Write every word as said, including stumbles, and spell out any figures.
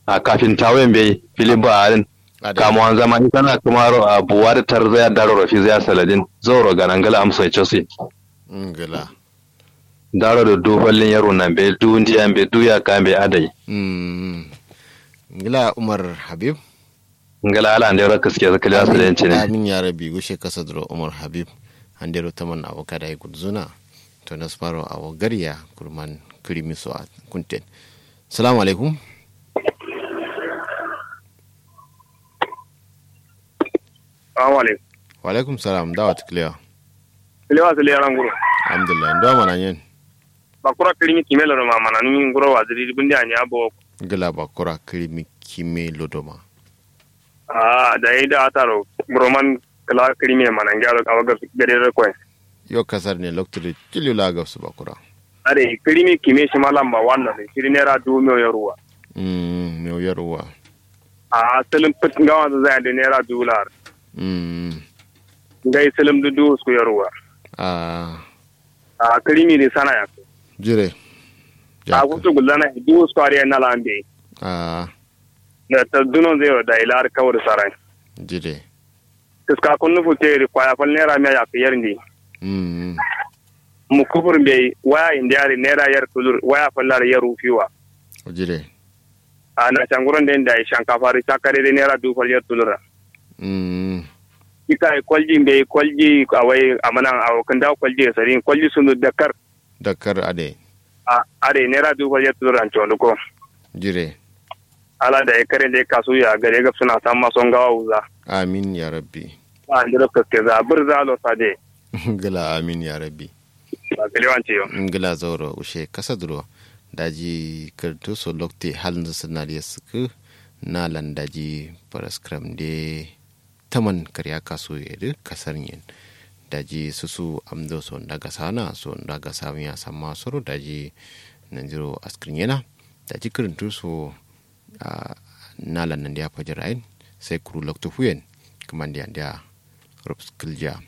A kafintawo ye mbeyi fili ba adǝn. Kamuwan zama isana kǝmaro a buwa dǝ tarzaya daroro fizaya saladin zauro gana ngla amso ye cosi. Ngla. Daro dǝ du fallin yerwu na mbeyi du ndiya mbeyi du yakka mbeyi adai. Ngla umar habib. Ngla ala ndero kǝske kǝlewa sǝlen cǝne. Amin ya rabbi gushe kasa duro umar habib. Andero taman awo kada ye gulzuna. To nasfaro awo gariya kurman kǝrimi so a kunten. Salamu alaikum. Salamu alaikum. Wa alaikum salam dawa tǝ kǝlewa. Kǝlewa sǝle yaran guro. Alhamdulillah ndo mana nyen. Bakura kǝrimi kime lodo ma mana nyi nguro waziri bundi anya bo. Ngla bakura kǝrimi kime lodo ma. Aa dayi da ataro buroman kǝla kǝrimi ye mana ngyaro awo gade do koyen. Yo kasar ne loktu dǝ cillu la gabsu bakura. Adai kǝrimi kime shima lamba wanno dǝ shiri naira duwu mewu yaruwa. Mewu yaruwa. Aa sǝlǝm fǝt ngawanzǝ zayandǝ naira duwu lar. Ngai sǝlǝm dǝ duwu usku yaruwa. Aa. Aa kǝrimi dǝ sana yakke. Jire. Aa futu gulzana duwu usku adǝ ye nala mbeyi. Aa. Duno nzero dayi lar kawur saran. Jire. Kǝska kunnu futte dǝ kwaya fal naira miya yakke yer ndi. Mukufur mbeyi waya indi adǝ naira yer tulur waya fal lar yer ufiwa. Jire. Aa nasha nguron den dayi shankafa dǝ shakka dai naira duwu fal yer tulur. Ika ye kolji mbeyi kolji awai amanan awo kǝndawo kolji ye sadin kolji sundu dakkar. Dakkar adai. Adai naira duwu fal yer tulur an condo ko. Jire. Ala dayi kare nde kasu ya gade gabsuna samma so ngawa wuza. Amin ya rabbi. Andiro kaske za bǝrza lo sade. Ngla amin ya rabbi. Ngla zauro ushe kasa duro. Daji kǝrtu so lokte halnzǝ sǝnadǝ ye sǝkkǝ. Nalan daji faraskǝram nde. Taman kǝriya kasu ye dǝ kasar nyen. Daji susu amdo so nda gasana so nda gasana samma soro daji. Nanjiro askǝr nyena. Daji kǝrtu so. Nalan nandiya fajir ayin. Sai kuru loktu fuyen. Kǝmandi andiya rups kǝljiya.